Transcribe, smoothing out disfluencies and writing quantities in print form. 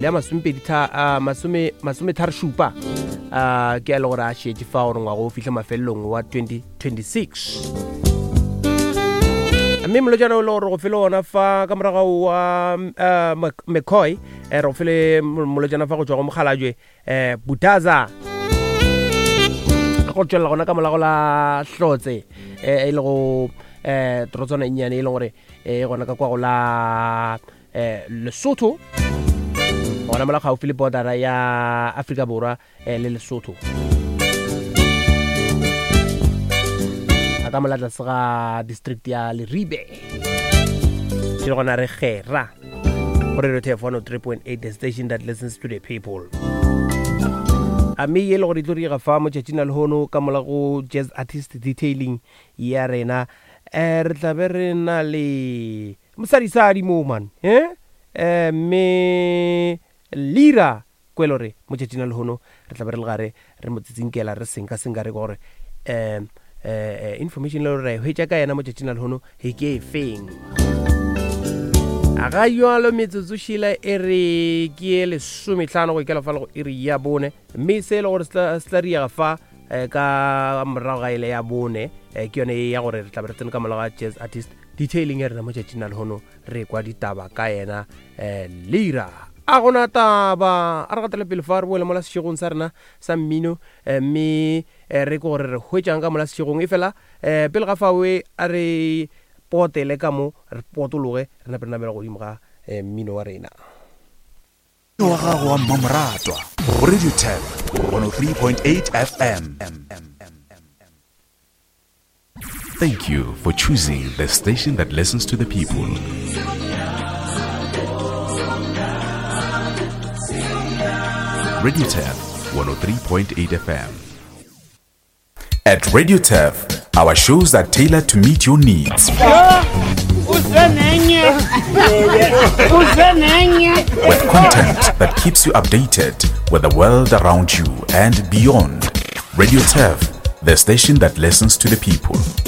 Le a masomepedi tha a masome masometharo šupa a ke a le gore a šetše fa gore ngwago o fihle mafelelong wa 2026. Mme molotšana o le gore go fele ona fa ka morago wa uh, McCoy eh, re go fele molotšana fa go tšwa go mokgalajwe eh, Butaza go tšwelela gona ka molago la Hlotse eh, e le go eh, torotswana e nnyane e leng gore e gona ka kwa go la eh, Lesotho gona mola gaufi le bordera ya Afrika Borwa eh, le Lesotho a ka mola tlase ga district ya Leribe ke le gona re gera go radio tef 103.8, the station that listens to the people. A mme ye le gore e tlo riega fa motšatšing la lehono ka mola go jazz artist detailing ya rena um re tla be re na le mosadisadi mo man eh eh mme Lira kwelo re motšatšing la lehono re tla be re le gare re mo tsitsinkela re senka senka re gore um eh information le re hwetša ka yena motšatšing la lehono he ke e feng. A ga jalo metsotso šila e re ke e lesometlhano go ikela fa le go iri ya bone mme se e le gore se tla riega fa eh, ka morago ga ele ya bone eh, ke yone e ya gore re tla be re tsene ka morago ga jazz artist detailing ya rena mo tšatšing la lehono re kwa ditaba ka yena eh, Lira. A gona taba a re gatele pele fa re boele mola sešegong sa rena sa mmino mme re ke gore re hwetšang ka mola sešegong e fela pele ga fawe a re potele ka mo re potologe re nape re namela godimo ga mmino wa rena. Wa gago wa mmamoratwa go Radio 10 103.8 FM. Thank you for choosing the station that listens to the people. Radio 10 103.8 FM. At Radio Turf, our shows are tailored to meet your needs. With content that keeps you updated with the world around you and beyond. Radio Turf, the station that listens to the people.